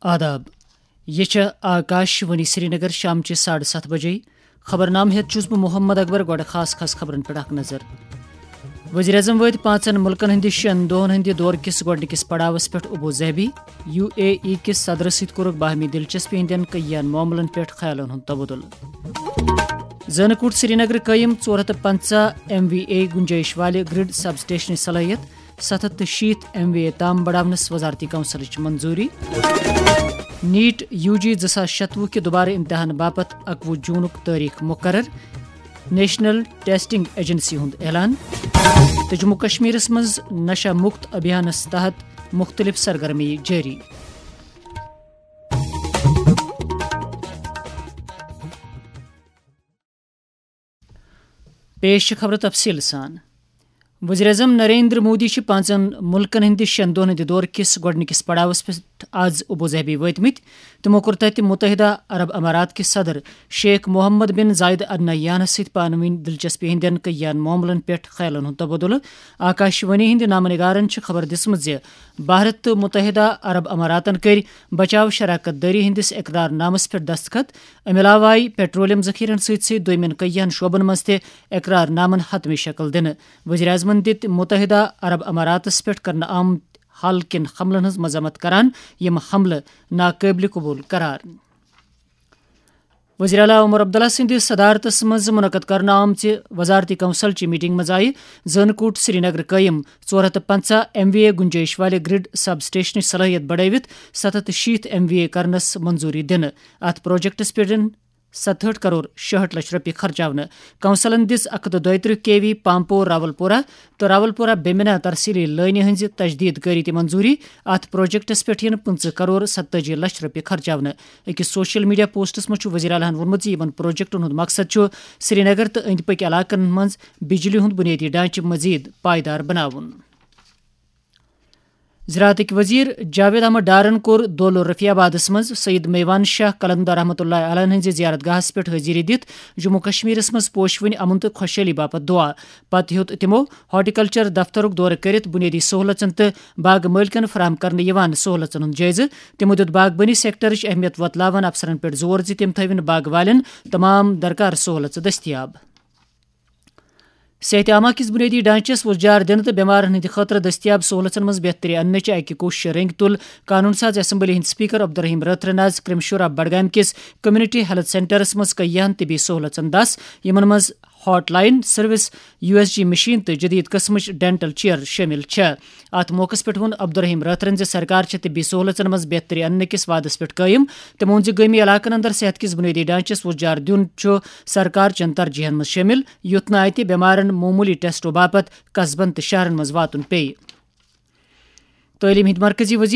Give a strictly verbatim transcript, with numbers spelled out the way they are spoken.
آداب۔ یہ چھےٚ آکاش وانی سرینگر۔ شامچہِ ساڑٕ ستھ بجے۔ خبرنامہٕ ہیتھ چھُس بہٕ محمد اکبر۔ گۄڈٕ خاص خاص خبرن پٮ۪ٹھ اکھ نظر۔ وزیر اعظم وٲتۍ پانٛژن مُلکن ہٕنٛدِ شٮ۪ن دۄہن ہٕنٛدِ دورٕ کِس گۄڈٕنِکِس پڑاوس پٮ۪ٹھ ابو ظہبی۔ یو اے ای کِس صدرس سۭتۍ کوٚرُکھ باہمی دلچسپی ہٕنٛدٮ۪ن کئیَن معاملن پٮ۪ٹھ خیالن ہُنٛد تبادلہٕ۔ زٲنہٕ کوٗٹ سرینگر قٲیِم ژور ہتھ تہٕ پنٛژاہ ایم وی اے گُنجٲیِش والہِ گرڈ سب سٹیشنٕچ صلٲحیت ستھ ہتھ تہٕ شیٖتھ ایم وی اے تام بڑاونس وزارتی کونسلٕچ منظوٗری۔ نیٹ یو جی زٕ ساس شتوُہ کہِ دوبارٕ امتحان باپتھ اکوُہ جوٗنُک تٲریخ مقرر۔ نیشنل ٹیسٹنگ ایجنسی ہُنٛد اعلان۔ تہٕ جموں کشمیرس منٛز نشہ مکت ابھیانس تحت مختلف سرگرمی جٲری۔ پیش چھِ خبرٕ تفصیٖل سان۔ وزیر اعظم نریندر مودی چھِ پانٛژن مُلکن ہٕنٛدِ شٮ۪ن دۄہن ہٕنٛدِ دورٕ کِس گۄڈٕنِکِس پڑاوس پٮ۪ٹھ آز ابو ظہبی وٲتمٕتۍ۔ تِمو کوٚر تَتہِ متحدہ عرب امارات کہِ صدر شیخ محمد بن زاید النہیانس سۭتۍ پانہٕ ؤنۍ دلچسپی ہٕنٛدٮ۪ن کئیَن معاملن پٮ۪ٹھ خیالن ہُنٛد تبادلہٕ۔ آکاش وانی ہٕنٛدِ نامہ نگارن چھِ خبر دِژمٕژ زِ بھارت تہٕ متحدہ عرب اماراتن کٔرۍ بچاو شراکت دٲری ہٕنٛدِس اقرار نامس پٮ۪ٹھ دستخط۔ امہِ علاوٕ آیہِ پیٹرولیم ذخیرن سۭتۍ سۭتۍ دوٚیمٮ۪ن کئیَن شعبن منٛز تہِ اقرار نامن حتمی شکل دِنہٕ۔ وزیر اعظمن دِتۍ متحدہ عرب اماراتس پٮ۪ٹھ کرنہٕ آمت حل کٮ۪ن حملن ہٕنٛز مذمت کران، یِم حملہٕ ناقٲبلِ قبول قرار۔ وزیر اعلیٰ عمر عبداللہ سٕنٛدِ صدارتس منٛز منعقد کرنہٕ آمژِ وزارتی کونسل چہِ میٹنگ منٛز آیہِ زٲنہٕ کوٗٹ سرینگر قٲیِم ژور ہتھ تہٕ پنٛژاہ ایم وی اے گُنجٲیِش والہِ گرڈ سب سٹیشنٕچ صلٲحیت بڑٲوِتھ ستھ ہتھ تہٕ شیٖتھ ایم وی اے کرنس منظوٗری دِنہٕ۔ اتھ پروجیکٹس پٮ۪ٹھ یِن ستہٕ ہٲٹھ کرور شُہٲٹھ لچھ رۄپیہِ خرچاونہٕ۔ کونسلن دِژ اکھ ہتھ تہٕ دۄیہِ ترٕٛہ کے وی پامپور راولپورہ تہٕ راولپورہ بیمنا ترسیلی لٲنہِ ہٕنٛزِ تجدید کٲری تہِ منظوٗری۔ اتھ پروجیکٹس پٮ۪ٹھ یِن پٕنٛژٕہ کرور ستتٲجی لچھ رۄپیہِ خرچاونہٕ۔ أکِس سوشل میڈیا پوسٹس منٛز چھُ وزیر اعلیٰ ہن ووٚنمُت زِ یِمن پروجیکٹن ہُنٛد مقصد چھُ سرینگر تہٕ أنٛدۍ پٔکۍ علاقن منٛز بجلی ہُنٛد بُنیٲدی ڈھانچہٕ مزید پائیدار بناوُن۔ زراعتٕکۍ وزیر جاوید احمد ڈارن کوٚر دولہٕ رفیع آبادس منٛز سید میوان شاہ قلندر رحمتہ اللہ علیہ ہٕنٛزِ زیارت گاہس پٮ۪ٹھ حٲضری دِتھ جموں کشمیرس منٛز پوشوٕنۍ امن تہٕ خۄشحٲلی باپتھ دعا۔ پتہٕ ہیوٚت تِمو ہارٹیکلچر دفترُک دورٕ کٔرِتھ بُنیٲدی سہولژن تہٕ باغہٕ مٲلکن فراہم کرنہٕ یِوان سہولژن ہُنٛد جٲیزٕ۔ تِمو دیُت باغبٲنی سیکٹرٕچ اہمیت وۄتلاوان افسرن پٮ۪ٹھ زور زِ تِم تھٲوِن باغہٕ والٮ۪ن تمام درکار سہولژٕ دٔستیاب۔ صحت عامہ کِس بُنیٲدی ڈھانچس وُژھ جار دِنہٕ تہٕ بٮ۪مارن ہٕنٛدِ خٲطرٕ دٔستیاب سہولژن منٛز بہتری اننٕچ اکہِ کوٗششہِ رٔنگۍ تُل قانون ساز اسمبلی ہٕنٛدۍ سپیکر عبدالرحیم رٲتھرن آز کرمشورہ بڈگامہِ کِس کمیونٹی ہیلتھ سینٹرس منٛز کئیہن طبی سہولژن دس، یِمن منٛز heart line service, U S G machine تہٕ جدید قٕسمٕچ ڈینٹل چیئر شٲمِل چھےٚ۔ اتھ موقعس پٮ۪ٹھ ووٚن عبدالرحیم رٲتھرن زِ سرکار چھےٚ طبی سہولژن منٛز بہتری اننہٕ کِس وعدس پٮ۪ٹھ قٲیِم۔ تٔمۍ ووٚن زِ گٲمی علاقن اندر صحت کِس بُنیٲدی ڈھانچس وُژھ جار دیُن چھُ سرکار چٮ۪ن ترجیحن منٛز شٲمِل، یُتھ نہٕ اتہِ بٮ۪مارن معموٗلی ٹیسٹو باپتھ قصبن تہٕ شہرن منٛز واتُن پیٚیہِ۔ تعلیٖم ہٕنٛدۍ مرکزی وزیر